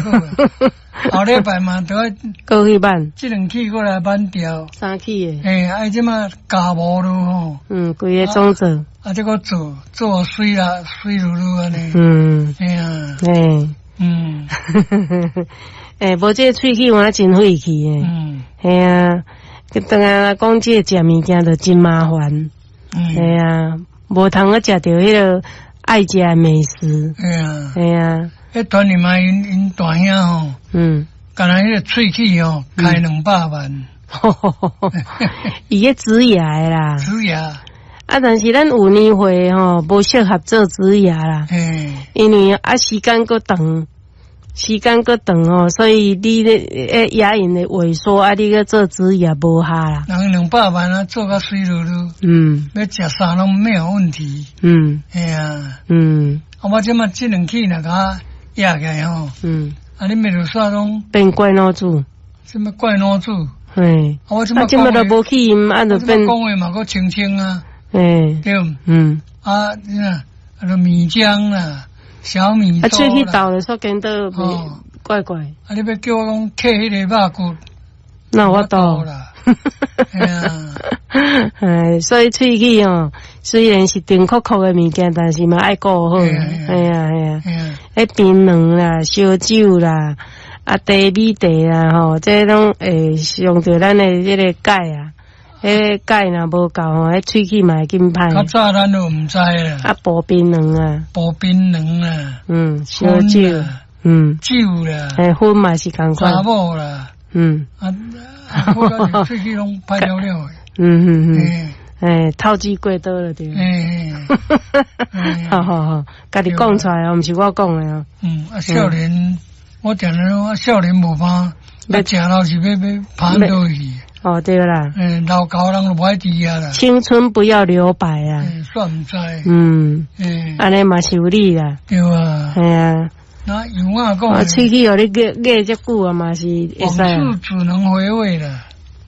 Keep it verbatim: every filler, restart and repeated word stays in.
挽好啊。後禮拜嘛都愛閣去挽，這兩齒閣來挽掉。三齒的。嘿，啊，這馬咬無囉吼。嗯，規個總做。啊，這閣做做媠啦，媠漉漉按呢。嗯。嘿啊。嘿。嗯。欸，無這喙齒有影真晦氣的。嗯。嘿啊，當下講這個食物件就真麻煩。嗯。嘿啊，無通閣食著彼个愛食的美食。嘿啊。嘿啊。彼團里嘛，𪜶𪜶大兄吼。嗯。干焦彼个喙齒吼，開兩百萬。伊咧植牙的啦。植牙。啊，但是咱有年歲吼，無適合做植牙啦。嗯。因為啊，時間閣長，時間閣長吼，所以你咧欸牙齦會萎縮，啊，你閣做植牙無效啦。人兩百萬啊，做甲媠漉漉。嗯。欲食啥攏沒有問題。嗯。嘿啊。嗯。啊，我這馬這兩齒若共壓起來吼。嗯。啊，你面就煞攏變怪腦子。啥物怪腦子？嘿。啊，我這馬啊，這馬都無去音，啊，就變。講話嘛，閣清清啊。嘿。對。嗯。啊，你看，啊，就米漿啦，小米啊，粥喙齒啦。鬥咧，煞顛倒袂怪怪。啊，你欲叫我講嗑彼个肉骨，哪有法度啦？嘿啊。哎，所以喙齒吼，雖然是甜硞硞的物件，但是嘛愛顧好。嘿啊嘿啊。嘿啊。彼檳榔啦、燒酒啦、啊茶米茶啦吼，這攏會傷著咱的這个鈣啊。彼個鈣若無夠吼，彼喙齒嘛會緊歹。較早咱都毋知啦。啊，補檳榔啊。補檳榔啦。嗯，燒酒。嗯。酒啦。嘿，薰嘛是仝款。查某啦。嗯。啊，我感覺喙齒攏歹了了的。嗯嗯嗯。欸，透支過多了對。欸。好好好，家己講出來哦，毋是我講的哦。嗯，啊，少年，我定定講啊，少年無怕，啊，食老是欲欲趴倒去。哦，對啦。欸，老猴人就無愛佇啊啦。青春不要留白啊。煞毋知。嗯。欸。按呢嘛是有理啦。對啊。嘿啊。那有影講。啊，喙齒予你壓壓遮久啊，嘛是會使。往事只能回味啦。